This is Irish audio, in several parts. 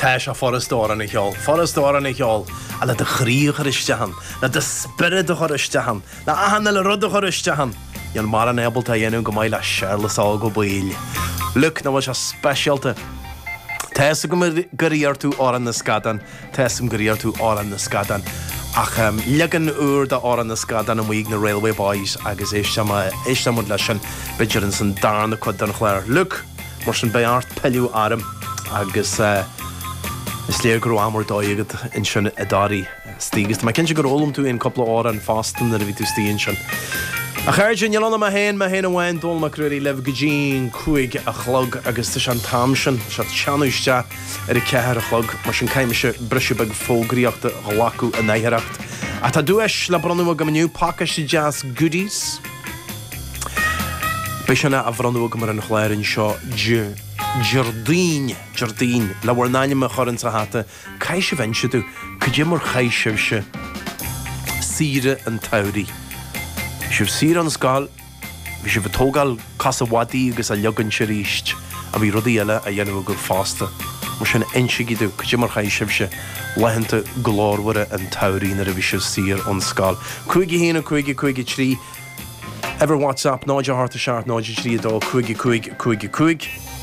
Tá sé furasta amhrán a cheol, furasta amhrán a cheol, ach le do chroí a chur isteach ann, le do spiorad a chur isteach ann, le achan uile rud a chur isteach ann, níl mórán ábalta a dhéanamh go maith le Séarlas Óg Ó Baoill. Luke, nach bhfuil sé speisialta? Tá fhios agam gur iarr tú Amhrán na Scadán, tá fhios agam gur iarr tú Amhrán na Scadán, ach leagan úr de Amhrán na Scadán amuigh ag na Railway Boys agus éistfidh muid leis sin b'fhéidir ins an darna cuid den chlár. Luke, mar sin beidh ort pilleadh orm agus is léir go raibh am ar dóigh agat ansin i dToraí. Istigh agus tá mé cinnte gur fhoghlaim tú aon cúpla amhrán fosta nuair a bhí tú istigh ansin. A chairde, níl ann ach mé féin, mé féin amháin, Dónall Mac Ruairí libh go dtí'n 5 a chlog agus tá sé an t-am sin, tá sé ag teannadh isteach ar a ceathair a chlog, mar sin caithfidh mise briseadh beag fógraíochta a ghlacadh in oidhreacht. Ach tá duais le bronnadh agam inniu, pacáiste deas goodies. Beidh sin á bhronnadh agam ar an chlár anseo Déardaoin, Déardaoin, le bhur n-ainm a chur insa hata Caithfidh sibh inse domh cad é mar chaith sibhse saoire an tsamhraidh. Bhí sibh saor ón scoil, bhí sibh ag tógáil cosa mhadaidh agus á leagaint arís, ach bhí rudaí eile á dhéanamh agaibh fosta. Mar sin, insigí domh cad é mar chaith sibhse laethanta glórmhara an tsamhraidh nuair a bhí sibh saor ón scoil. 5 1 5 5 3. Uimhir WhatsApp 0 8 7 0 3 2 5 5 5 5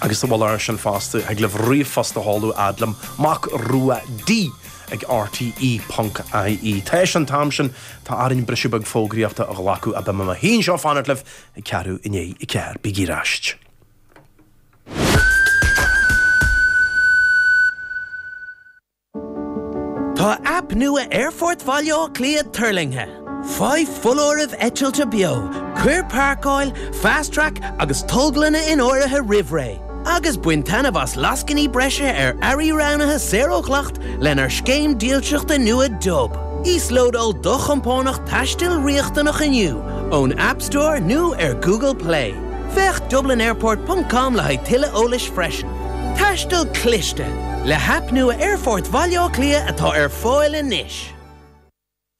Agus sa mhullach air sin fosta, thig libh ríomhphost a sheoladh fhad liom, Mac Rua D ag RTE ponc IE. Tar éis an t-am sin, tá orainn briseadh beag fógraíochta a ghlacadh ach beidh mé i mo shuí anseo ag fanacht libh ag ceathrú i ndiaidh 4. Bígí ar ais. Tá aip nua Aerfort Bhaile Átha Cliath tuirlingthe. Faigh foláirimh eitilte beo, cuir páirceáil, Fast Track agus tolglanna in áirithe roimh ré, agus bain taitneamh as lascainí breise ar earraí roghnaithe saor ó dhleacht lenár scéim dílseachta nua Dub. Íoslódáil do chompánach taistil riachtanach inniu ón App Store nó ar Google Play. Féach dublinairport ponc com le haghaidh tuilleadh eolais freisin. Taisteal cliste le haip nua Aerfort Bhaile Átha Cliath atá ar fáil anois.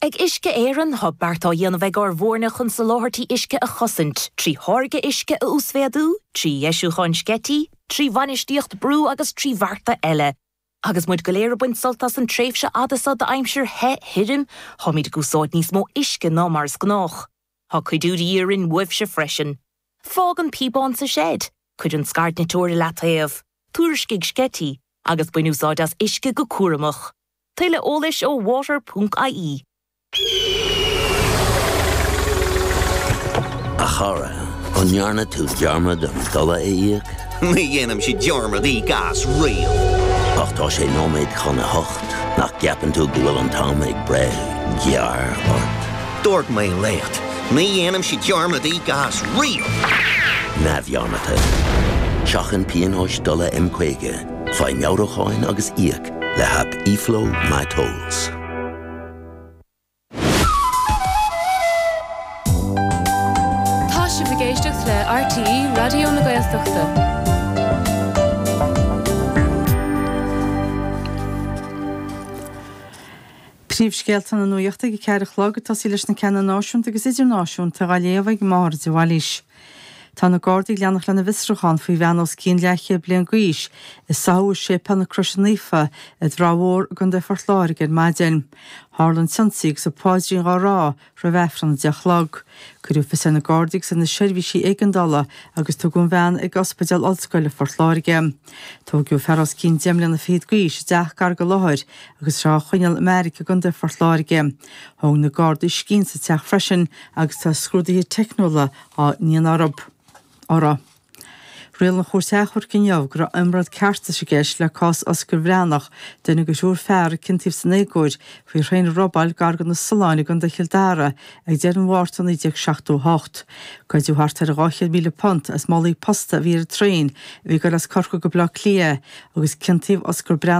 Ag Uisce Éireann, tá bearta á dhéanamh ag ár bhfoirne chun soláthairtí uisce a chosaint, trí tháirgeadh uisce a uasmhéadú, trí dheisiúcháin sceití, trí bhainistíocht brú agus trí bhearta eile. Agus muid go léir ag baint sult as an tréimhse fhada seo d'aimsir the thirim, táimid ag úsáid níos mó uisce ná mar is gnách. Tá cuidiú de dhíth orainn uaibhse freisin. Fág an píobán sa seid, cuir an scairdniteoir i leataobh, tuairiscigh sceití, agus bain úsáid as uisce go cúramach. Tuilleadh eolais ó water ponc ie. A chara, an ndearna tú dearmad an dola a íoc? Ní dhéanaimse dearmad íoc as riamh. Ach tá sé nóiméad chun a hocht, nach gceapann tú go bhfuil an t-am ag breith gearr ort? Dúirt mé leat, ní dhéanaimse dearmad íoc as riamh! Neamhdhearmadta. Seachain pionóis dola M50, faigh meabhrúcháin agus íoc le haip eFlow MyTolls. Tá sibh ag éisteacht le RTÉ Raidió na Gaeltachta. Príomhscéalta na nuachta ag a ceathair a chlog, ag tosaí leis na ceanna náisiúnta agus idirnáisiúnta á léamh ag Máire de Bhailís. Tá na Gardaí ag leanacht lena bhfiosrúchán faoi bhean os cionn leathchéad bliain d'aois a sáthadh i Séipéal na Croise Naofa i dTrá Mhór i gContae Phort Láirge ar maidin. Tharla an t-ionsaí agus an paidrín dhá rá roimh Aifreann a deich a chlog. Cuireadh fios ar na Gardaí agus ar na seirbhísí éigeandála agus tugadh an bhean ag Ospidéal Ollscoile Phort Láirge. Tóigeadh fear os cionn deich mbliana fichead d'aois i dteach gar don láthair agus tá sé á choinneáil i mbeairic i gContae Phort Láirge. Thóg na Gardaí scian sa teach freisin agus tá scrúduithe teicniúla á ndéanamh orthu. Rialaigh an Chúirt Achomhairc inniu go raibh iomrall ceartais i gceist le cás Oscar Bhreathnach, duine de thriúr fear a ciontaíodh san éagóir faoi thraein a robáil gar do na Solláin i gContae Chill Dara ag deireadh an Mhárta 1978. Goideadh thart ar £200,000 as málaí posta a bhí ar an traein a bhí ag dul as Corcaigh go Baile Átha Cliath agus ciontaíodh Oscar Breathnach.